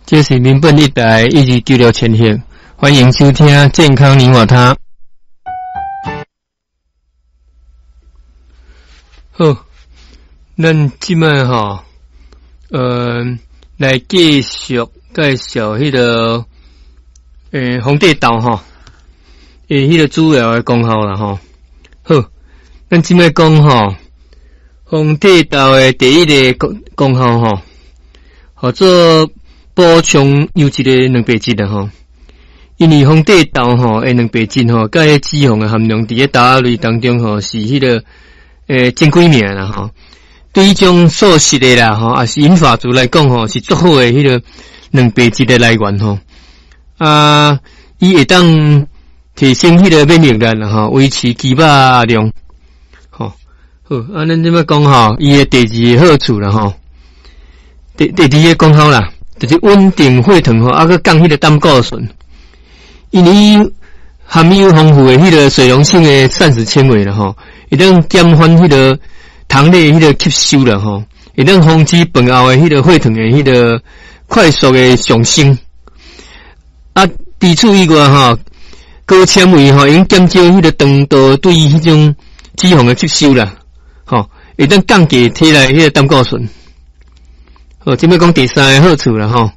這是民本一台1296千赫，歡迎收聽健康你我他。好，咱這擺吼，來繼續介紹彼個皇帝豆吼，彼個主要的功效啦吼。好，咱這擺講吼，皇帝豆的第一个功效吼，號做補充優質的蛋白質啦吼。因為皇帝豆吼的蛋白質吼，佮彼脂肪的含量佇咧豆仔類當中吼，是彼個前幾名啦吼。對彼種素食的啦吼，抑是銀髮族來講吼，是足好的彼個蛋白質的來源吼。啊，伊會當提升彼個免疫力啦吼，維持肌肉量。吼，好，啊，咱這擺講吼，伊的第二个好處啦吼，第二个功效啦，就是穩定血糖吼，啊，閣降彼個膽固醇。因為伊含有豐富的彼個水溶性的膳食纖維啦吼，會當減緩彼個糖類彼個吸收啦吼，會當防止飯後的彼個血糖的彼個快速的上升。啊，除此以外吼，高纖維吼，會用減少彼個腸道對彼種脂肪的吸收啦，吼，會當降低體內彼個膽固醇。好，這擺講第三个好處啦吼，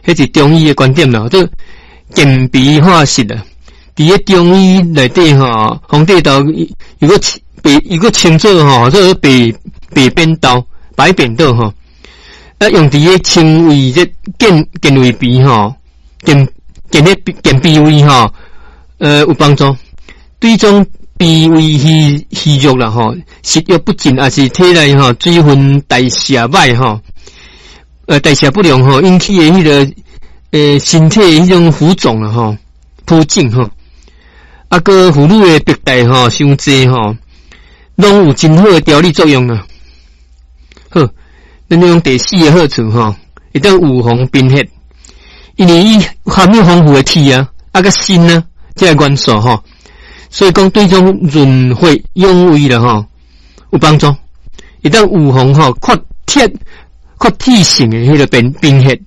彼是中醫的觀點啦，做健脾化濕啦。佇咧中醫內底吼，皇帝豆如果白，如果稱做吼，做白白扁豆、白扁豆吼，啊，用佇咧清胃熱、健健胃脾吼，健健咧健脾胃吼，有幫助。對種脾胃虛虛弱啦吼，食欲不振，抑是體內吼水分代謝歹吼，代謝不良吼，引起的彼個身體彼種浮腫啦吼，浮腫吼，啊，閣婦女的白帶吼，傷濟吼，攏有真好的調理作用啊。好，咱講第四个好處吼，會當預防貧血，因為伊含有豐富的鐵啊，啊閣鋅啊，這个元素吼，所以講對種潤血養胃啦吼有幫助，會當預防吼缺鐵、缺鐵性的彼個貧血，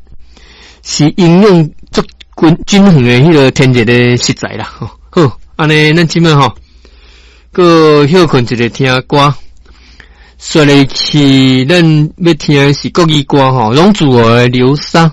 是營養足均衡的彼個天然的食材啦。吼，好，按呢咱這擺吼，閣歇睏一下聽歌，紲落去咱欲聽的是國語歌吼，攏自我的流沙。